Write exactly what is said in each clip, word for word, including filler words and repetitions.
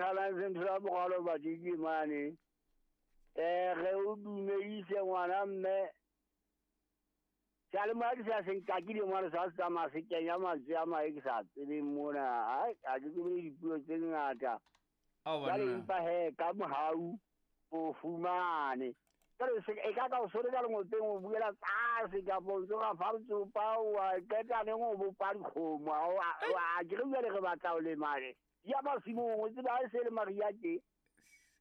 tshwanang se ntho ya bogalo badiki mane. Eh re o dumedise ngwana mme. Sale madi sa se nkakile mwana sa tsamaya se kenya mantswe a mae ke sa tsebeng mona. Ai a ke tsebe dipuo tse ngata. Jwale empa he ka mohau o fumane. Jwale se e ka ka o sore ka lengopeng o buela tlase kapa o tsoga fa tsopa wa qeta neng o bopa dikgomo a ke re jwale re batla o lemale. Ya masimong o tseba ha e se le mariha tje.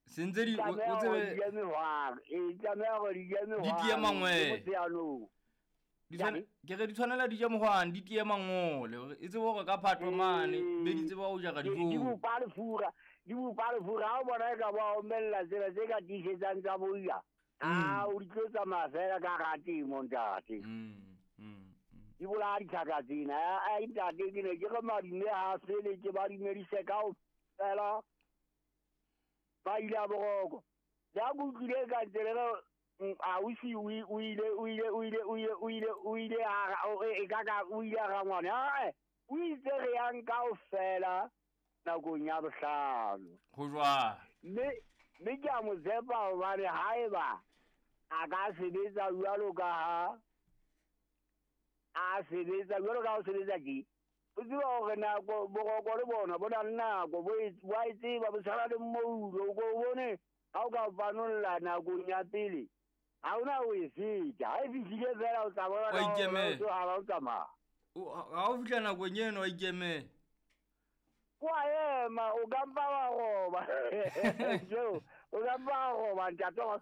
Sentse di o tsebe di mehwang e tlameha hore di je mehwang. Di tie mangwele. Di tshwane ke re di tshwanela di je mohwane di tie mangole e tsebe hore ka phatlo mane be di tseba ho jara dijo. Di bopa lefura di bopa lefura ha o bona e ka ba omella tsela tse ka tiisetsang tsa boya. A o di tlo tsamaya fela ka hara temo ntate. Di bolaya ditlhaka tsena. Ai ntate ke ne ke re madume ha fele ke ba dumedise kaofela ba ile a boroko. Le ha ke utlwile ka tsela ausi o ile o ile o ile o ile o ile o ile a e ka ka o ile a rangwane. O itse re yang kaofela nakong ya bohlano. Ho jwang? Mme mme ke a mo tshepa hobane haeba a ka sebetsa jwalo ka ha a sebetsa jwalo ka ha o sebetsa tje. O tseba hore nako boroko le bona bo na le nako bo a e tseba bo tshwana le mmoulo. O ko bone ha o ka panolla nakong ya pele ha ona o e feta. Ha e fihlile fela o tla bona ka ha o tsamaya. Ha o fihla nakong eno wa ikemela. Wa ema o ka mpa wa roba. Jo, o ka mpa wa roba ntate wa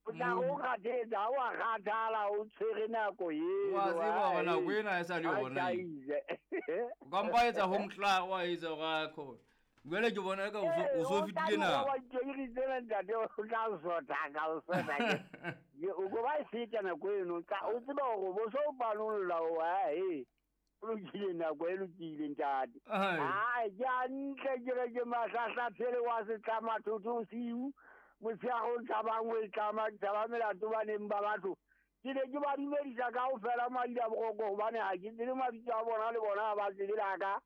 o tla o kgathetsa wa kgathala o tshwere nako eo. Wa tseba hore nako ena e sa le yona. O ka mpa etsa ho motla wa etsa hore a khona. Jwale ke bona ka o so fetile nako. Wa tsena ntate o tla sotha ka o sotha ke. O go ba e feta nako eno o tseba hore bo so panolla wa e. O lokile nako e lokile ntate. Ai ke hantle ke re ke mahlahlathele wa setlama thotho siu. Motshehare o tshabang o e tlama ke tshaba melato baneng ba batho. Ke ne ke ba dumedisa kaofela madi a boroko hobane ha ke tsebe mabitso a bona le bona ha ba tsebe la ka.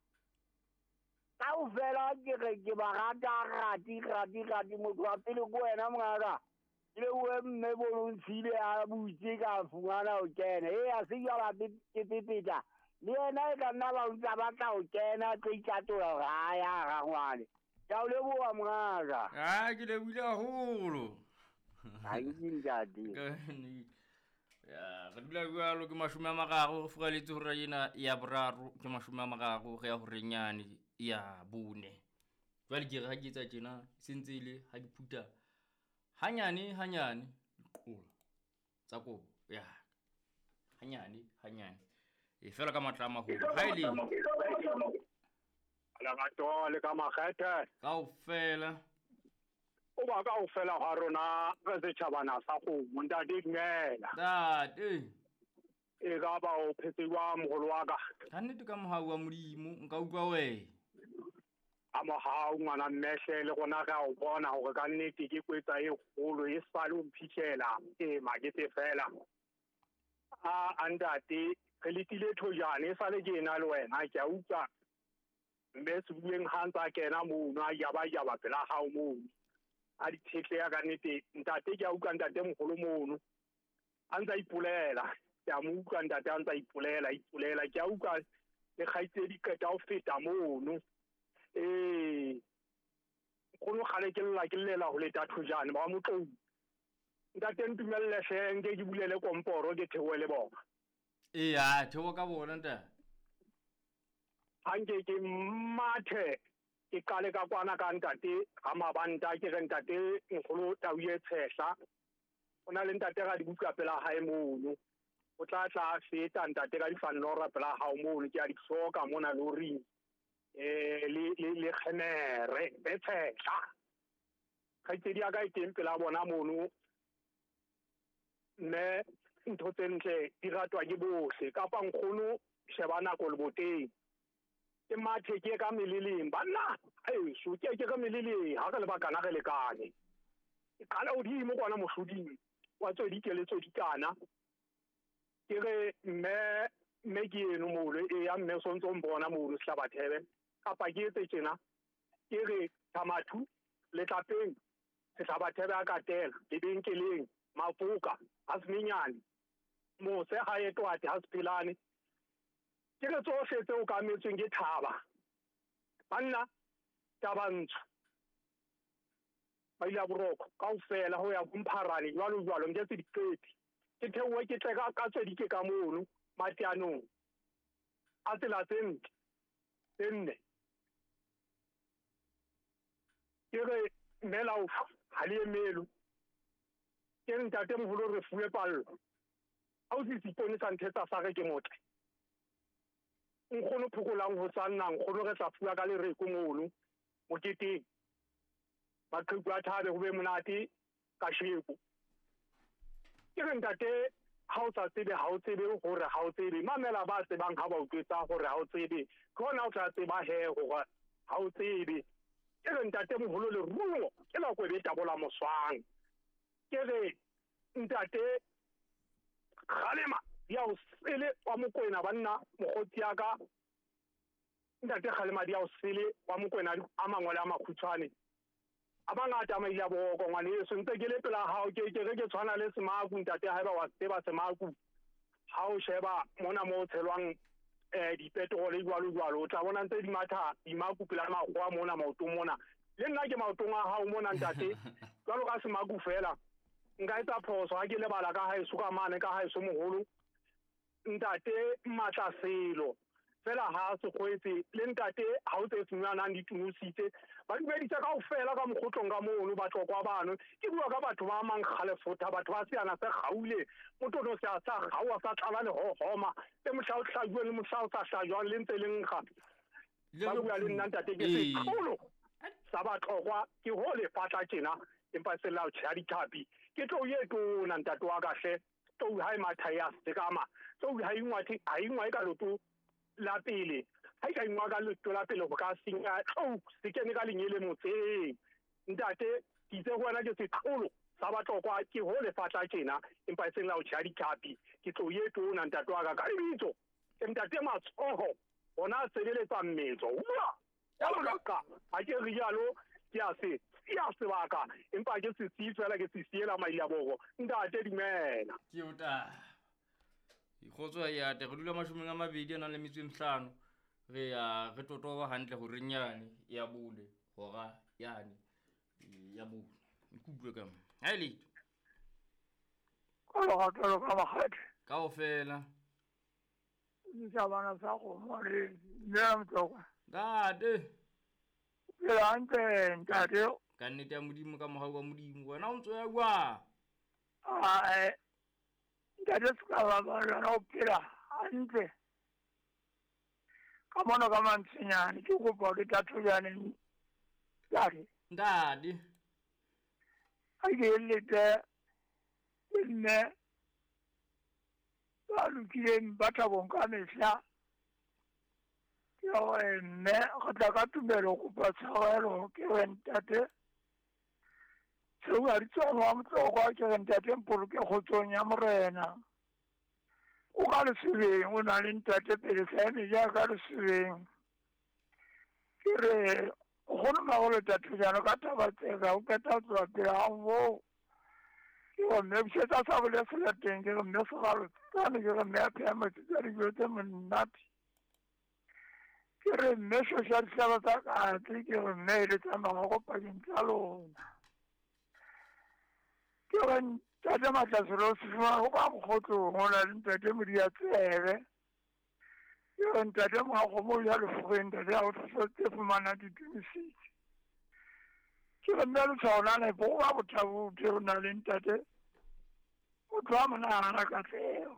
Kaofela ke re ke ba rata rati rati rati motho wa pele ko wena mongaka. Ke le o mme bolontshile a butse ka fumana o kena. E a se jwala ke pepeta. Le yena e ka nna ba ntsa batla ho kena tlo itatola hore ha ya rangwane. Ke a o leboha mongaka. Ah ke lebohile haholo. Ha ke ntate. Ya re dula jwalo ke mashome a mararo re furaletse hora ena ya boraro ke mashome a mararo re ya horeng yane ya bone. Jwale ke re ha ke etsa tjena se ntse ile ha ke phuta hanyane hanyane diqola tsa kobo ya hanyane hanyane e fela ka matla a maholo ha ile lerato le ka makgethe kaofela o ba kaofela ha rona re setjhabana sa kgomo ntate dumela ntate e ka ba o phetse jwang moholo wa ka ka nnete ka mohau wa Modimo nka utlwa wena a mohau ngwana mmehle le rona re a o bona hore ka nnete ke kwetsa e kgolo e sale o mphitlhela e makete fela a ntate re letile thojane e sale ke ena le wena ke a utlwa mme se bueng ha ntsa kena mono a yaba yaba pela hao mono a dithetle ka nnete ntate ke a utlwa ntate moholo mono a ntsa ipolela ke a mo utlwa ntate a ntsa ipolela ipolela ke a utlwa le kgaitsedi qeta ho feta mono eh nkgono kgale ke lla ke llela ho leta thojane ba motlou ntate ntumelle hle nke ke bulele komporo ke theohe le bona. Eya theoha ka bona ntate. Ha nke ke mathe ke qale ka kwana ka ntate ha mabanta ke re ntate nkgolo tau e tshehla o na le ntate ga dibuka pela hae mono o tla tla feta ntate ka difanora pela hao mono ke a di hloka mona loring eh le le le kgenere e tshehla kgaitsedi ya ka e teng pela bona mono mme ntho tse ntle di ratwa ke bohle kapa nkgono sheba nako leboteng ke mathe ke ka meleleng banna heso ke ke ka meleleng ha re le bakana re lekane ke qala hodimo kwana mohloding wa tswedike le tswedikana ke re mme mme ke eno molo e ya mme o sontso mbona molo Sehlabathebe kapa ke etse tjena Ke re Thamathu Letlapeng Sehlabathebe a Katela lebenkeleng Mafoka ha Seminyane mose ha etwate ha Sephelane. Ke re tsohle tse okametsweng ke thaba banna taba ntsho ba ile boroko kaofela ho ya bompharane jwalo jwalo nke tse diqepi. Ke theohe ke tle ka ka tswedike ka mono mateanong a tsela tse ntle tse nne. Ke re mmelaufa ha le emelo. Ke re ntate moholo re fuwe pallo. Ha o se seipone sa nthetsa sa re ke motle. Nkgono phokolang ho sa nna nkgono re tla fuwa ka lereko mono moketeng. Maqheku a thabe ho be monate kasheko. Ke re ntate ha o sa tsebe ha o tsebe hore ha o tsebe mamela ba tsebang ha ba utlwetsa hore ha o tsebe ke hona o tla tseba he hore ha o tsebe. Ke re ntate moholo leruo ke la kwebe tabola moswang. Ke re ntate Kgalema ya o sele wa Mokwena banna mokgotsi ya ka. Ntate Kgalema di ya o sele wa Mokwena a mangole a makhutshwane. A bangata a maile a boroko ngwaneso ntse ke le pela hao ke ke re ke tshwana le Semaku ntate haeba wa tseba Semaku ha o sheba mona mo tshelwang eh dipetrole jwalo jwalo o tla bona ntse di matha dimaku pela makgowa mona maotong mona. Le nna ke maotong a hao mona ntate jwalo ka Semaku fela nka etsa phoso ha ke lebala ka haeso ka mane ka haeso moholo ntate Matla Selo fela ha se kgwetse le ntate ha o tse fumanang ditunositse ba dumedisa kaofela ka mokgotlong ka mono ba tlokwa bano. Ke bua ka batho ba mang kgalefotha batho ba seana se gaule motho no se a sa gaua sa tlala le hohoma le mohla o hlajuwe le mohla o sa hlajwang le ntse le nkga ba bua le nna ntate ke seqholo sa batlokwa ke ho le fatla tjena empa se la o tjha dithapi. Ke tlo ye tona ntate wa ka hle tlou ha e matha ya sekama tlou ha ingwa thi ha ingwa e ka loto la pele ha e ka ingwa ka loto la pele ho ka senya tlou se kene ka lenyele motseng ntate ke itse ho wena ke seqholo sa batlokwa ke ho le fatla tjena empa e seng la o tjha dithapi. Ke tlo ye tona ntate wa ka ka lebitso ke ntate Matsoho ona a sebeletsa mmetso ua ya loka ha ke rialo ke a se ya sebaka empa ke se siye fela ke se siela maile a boko ntate dumela. Ke o ta ikgotso ya te re dula mashomeng a mabedi a nang le metso e mehlano re ya re totoba hantle hore nyane ya bole hora yane ya bole ikutlwe ka ha ile ka lo ka lo ka makgethe kaofela ntse bana sa go mo le nna motloka ntate ke hantle ntate ka nnete ya Modimo ka mohau wa Modimo wena o ntso ya kwa a ntate se ka ba ba o phela hantle ka mona ka mantshinyane ke kopa ke tathojane ntate ntate a ke lete mme ba lokileng ba thabong ka mehla ke gore mme go tla ka tumelo kopa tshwarelo ke re ntate seo a di tswang wa motlokwa ke re ntate mpoloke kgotsong ya morena o ka lesebeng o na le ntate pele sa eme jaaka lesebeng ke re kgone magolo tathojano ka taba tseka o qeta ho tloha pele ga moo ke re mme bušetsa sa bole selateng ke re mme segalo tsane ke re mme a pheya metsi tsa dijo tse monate ke re mme shosha dihlaba tsa katse ke re mme e le tsa magogo pakeng tsa lona ke re ntate Matlaselo se fumana ho ka mokgotlong ho na le ntate Modiatsebe ke re ntate Moakgomo ya lefogeng ntate ya go tse fumana ditumisitse ke re mme letshwao la nepo go ba bothabothe ho na le ntate motho wa monahana katlego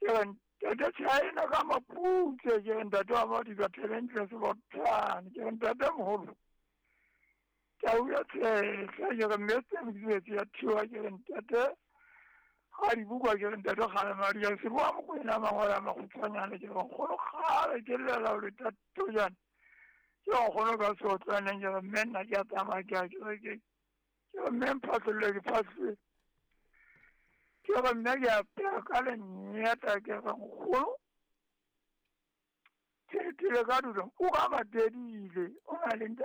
ke re ntate China ka maputse ke re ntate wa Modiba Thabentle Sebothane ke re ntate moholo tau ya tshehla ke re mme tse ya thiwa ke re ntate ga di bukwa ke re ntate Kgalema di ya se bua Mokwena mangolo a makgutshwanyane ke re nkgono kgale ke llela ho le tatojane ke nkgono ka seotlwaneng ke re mme nna ke a tsamaya ke a ke re ke ke re mme mphatlholle ke phatlholle ke re mme ke a pea ka lenyeta ke re nkgono Tele ka dula o ka ba tedile o na le ntate.